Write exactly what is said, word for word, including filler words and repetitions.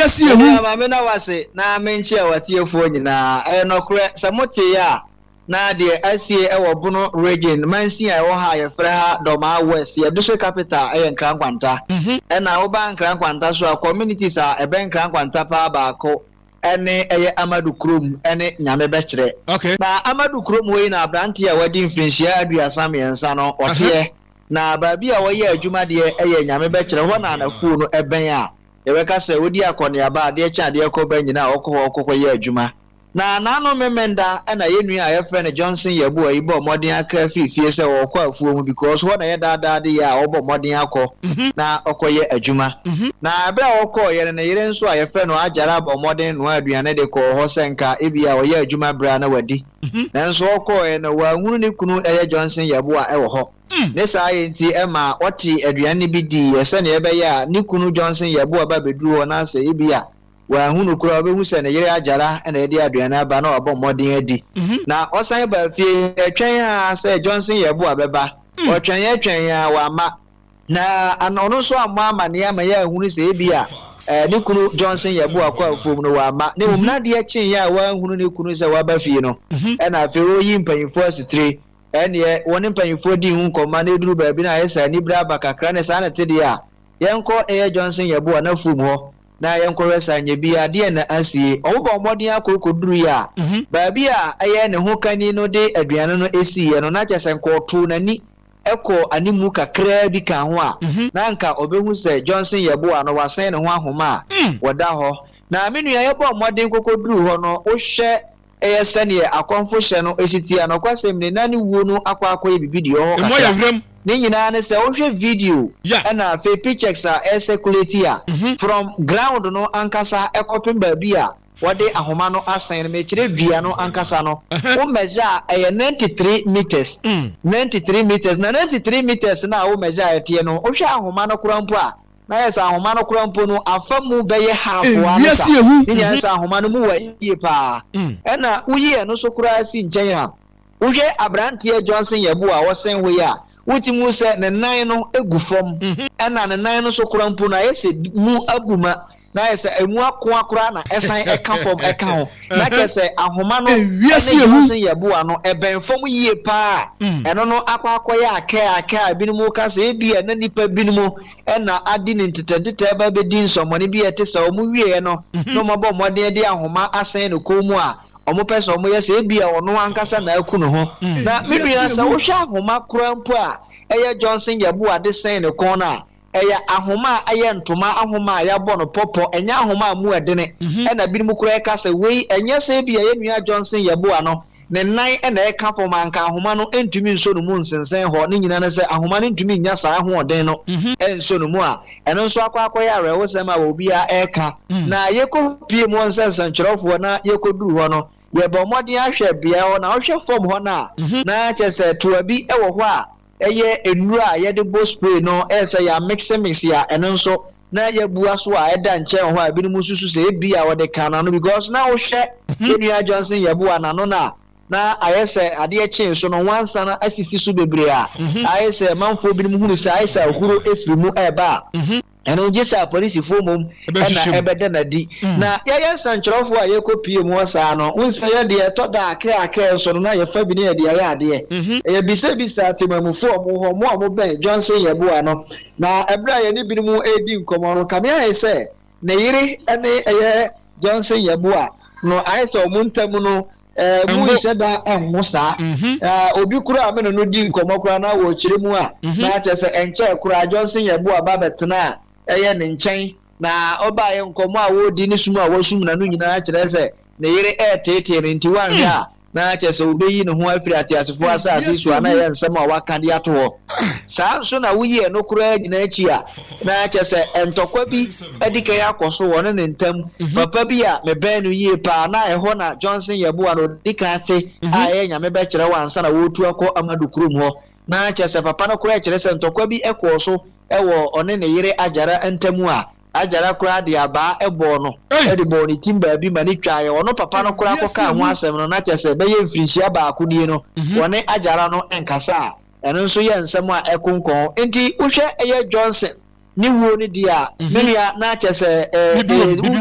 Ewiase yɛ hu. Maame na wase na menkyia watiefoɔ nyinaa. Ɛyɛ nɔkorɛ sɛ mote a, na deɛ asie ɛwɔ Bono Region mansin a ɛwɔ ha a yɛfrɛ ha Dɔmaa West, yɛ district capital ɛyɛ Nkrankwanta. Ɛna woba Nkrankwanta so a, communities a ɛbɛn Nkrankwanta paa baako ɛne ɛyɛ Amadu Kurom ɛne Nyame Bɛkyerɛ. Okay na Amadu Kurom hɔ yi na aberanteɛ a wadi mfirinhyia aduasa mmiɛnsa no ɔteɛ, na baabi a wɔyɛ adwuma deɛ ɛyɛ Nyame Bɛkyerɛ hɔ na anafuo no ɛbɛn a yɛbɛka sɛ wodi akɔneaba, adeɛ kyɛn adeɛ kɔ ba nyinaa, ɔkɔ hɔ ɔkɔkɔ yɛ adwuma. Na n'ano Memenda ɛna yɛn nua a yɛfrɛ no Johnson Yɛboa yi bɔ mmɔden akra firi fie sɛ ɔrekɔ afuo mu, because hɔ na yɛ daadaa de yɛ a ɔbɔ mmɔden akɔ na ɔkɔyɛ adwuma. Na ɛberɛ a ɔkɔɔyɛ no, ne yere nso a yɛfrɛ no Agyara bɔ mmɔden noa aduane de kɔɔ hɔ sɛ nka ebi a ɔyɛ adwuma berɛ a na wadi. Nanso ɔkɔɔɛ no, wanhunu ne kunu ɛyɛ Johnson Yɛboa ɛwɔ hɔ. Ne saa yɛ nti ɛma ɔte aduane no bi diiɛ sɛnea ɛbɛyɛ a ne kunu Johnson Yɛboa ba bɛduru hɔ na sɛ ebi a wanhunu koraa, ɔbɛhu sɛ ne yere Agyara ɛna ɛde aduane aba na wabɔ mmɔden adi. Na ɔsan ba fie, ɛtwɛn a sɛ Johnson Yɛboa bɛba, ɔtwɛn ɛtwɛn a wama na ɔno nso ammɔ amanneɛ ama yɛ ahunu sɛ ebi a ɛɛ ne kunu Johnson Yɛboa kɔ afuom no wama. Ne mmom nadeɛ kyeeɛ a wanhunu ne kunu sɛ waba fie no, ɛna afei ɔyi mpanyinfoɔ asitire, ɛneɛ wɔne mpanyinfoɔ di ho nkɔmma na eduru baabi na ayɛ sɛ anibere aba kakra. Ne saa na te deɛ a yɛnkɔ ɛyɛ Johnson Yɛboa n'afuom hɔ na yɛnkɔhwɛ sa nyɛ bi adeɛ na asie. Ɔmo bɔ mmɔden akɔkɔduru yi a, baabi a ɛyɛ ne ho kani no de aduane no esiiɛ no, na kyerɛ sɛ nkɔɔto n'ani ɛkɔ animu kakraa bi ka ho a, na nka ɔbɛhu sɛ Johnson Yɛboa no wasan ne ho ahoma a wɔda hɔ. Na me nua, yɛbɔ mmɔden kɔkɔduru hɔ no, wohwɛ ɛyɛ sɛneɛ akɔmfo hyɛ no esi tie a, nɔkwasɛm ne na ne wuo no akɔ akɔyɛ bibi deɛ ɔhɔ Emu ayɛ kakra. Werɛm. Ne nyinaa ne sɛ wohwɛ video Yeah. ɛna afei pictures a ɛcirculate a, from ground no ankasa ɛkɔpem baabi a wɔde ahoma no asɛn no, mekyerɛ dua no ankasa no, wo measure a, ɛyɛ ninety-three meters. ninety-three meters, na ninety-three meters na a wo measure a ɛteɛ no, wohwɛ ahoma no koraa mpo a, na yɛ sɛ ahoma no koraa mpo no afa mu bɛyɛ half wa no sa. Ewiase ehu. Ne nyinaa sɛ ahoma no mu wɔ yie paa. Ɛna woyi ɛno so koraa si nkyɛn a, wohwɛ aberanteɛ Johnson Yɛbo a wɔsɛn hɔ yi a, wotumi hu sɛ ne nan no egu fam, ɛna ne nan no so koraa mpo no ayɛ sɛ mu abu ma na ayɛ sɛ emu akoa koraa na ɛsan ɛka fam ɛka ho, na kyerɛ sɛ ahoma no Ewiase ɛne ehu. Johnson Yɛboa no ɛbɛn fam yie paa. Ɛno no akɔ akɔyɛ akɛ akɛ a ebinom ka sɛ ebi a na nipa binom ɛna adi ne ntetɛntetɛ ba bɛdi nsɔmɔne bi a ɛte sɛ ɔmo wieɛ no na ɔmo abɔ mmɔden de ahoma asɛn ne kɔn mu a ɔmo pɛ sɛ ɔmo yɛ sɛ ebi a ɔno ankasa na aku ne ho. Na me nua, sɛ wohwɛ ahoma koraa mpo a ɛyɛ Johnson Yɛboa de sɛn ne kɔn no a, ɛyɛ ahoma a ɛyɛ ntoma ahoma a yɛabɔ no pɔpɔ, ɛnyɛ ahoma a mu ɛdene. Ɛna binom koraa ɛka sɛ wei ɛnyɛ sɛ ebi a yɛn nua Johnson Yɛboa no ne nan ɛna ɛka fam anka ahoma no ntumi nso no mu nsensɛn hɔ. Ne nyinaa ne sɛ ahoma no ntumi nya saa ahoɔden no ɛnso no mu a, ɛno nso akɔ akɔyɛ awerɛhosɛm a obiara ɛreka. Na yɛkɔ pie mu wɔ nsɛnsɛnkyerɛwfoɔ na yɛkɔduru hɔ no, yɛbɔ mmɔden ahwɛ beaeɛ hɔ na wohwɛ fam hɔ no a, na kyerɛ sɛ toa bi ɛwɔ hɔ a ɛyɛ nnuro a yɛde bɔ spray no, ɛyɛ sɛ yɛ mix mix a, ɛno nso na yɛbua so a ɛda nkyɛn wɔ hɔ a ebinom nso sɛ ebi a wɔde ka n'ano, because na wohwɛ yɛn Johnson Yɛboa n'ano no a, na ayɛ sɛ adeɛ kyee so no nwansa no asisi so bebree a ayɛ sɛ manfoɔ binom hunu sɛ ayɛ sɛ ahuro efiri mu ɛreba a, ɛno gye sɛ apolisifoɔ mmom ɛna Ɛbɛhyehyɛ mu. Ɛbɛda n'adi. Na yɛyɛ nsɛnkyerɛwfoɔ a yɛkɔ pie mu hɔ saa no, wohu sɛ yɛdeɛ ɛtɔ da akɛ akɛ nso no na yɛfa bi ne yɛde ayɛ adeɛ. Ɛyɛ bisabisa temamufoɔ a ɔmo hɔ, mo a mobɛn Johnson Yɛboa no. Na ɛberɛ a yɛne binom redi nkɔmmɔ no, kame ayɛ sɛ ne yere ne ɛyɛ Johnson Yɛboa no ayɛ sɛ ɔmo ntam no ɛɛ mu Ɛngo. nhyɛ da ɛnho saa. Ɛɛ obi koraa a me ne no di nkɔmmɔ koraa na wɔkyerɛ mu a, na kyerɛ sɛ ɛnkyɛɛ koraa Johnson Yɛboa ba bɛtena a ɛyɛ ne nkyɛn, na ɔbaayɛ nkɔmmɔ a wɔredi ne sum a wɔsum n'ano nyinaa kyerɛ sɛ ne yere ɛɛteetee no, nti wanhwɛ a na kyerɛ sɛ wobɛyi ne ho afiri ateasefoɔ asase so a, na ɛyɛ nsɛm a waka de ato hɔ saa. Nso na woyi ɛno koraa nyinaa akyi a, na kyerɛ sɛ ntɔkwa bi adi kan akɔ so wɔ ne ne ntam. Papa bi a mebɛn no yie paa na ɛhɔ na Johnson Yɛboa no ɔdi kan te a ɛyɛ Nyame Bɛkyerɛ wɔ ansa na wɔretu akɔ Amadu Kurom hɔ, na kyerɛ sɛ papa no koraa kyerɛ sɛ ntɔkwa bi kɔɔ so ɛwɔ ɔne ne yere Agyara ntam a Agyara koraa de abaa ɛbɔɔ no Ei! ɛde bɔɔ ne tim baabi ma ne twaeɛ. Ɔno papa no koraa kɔkaa ho asɛm no, na kyerɛ sɛ bɛyɛ mfirinhyia baako nie no wɔne Agyara no nkasa a, ɛno nso yɛ nsɛm a ɛkonkɔn. Nti wohwɛ ɛyɛ Johnson ne wuo no di a, me nua, na kyerɛ sɛ ɛɛ Bibi wom, ɛɛ bibi wom.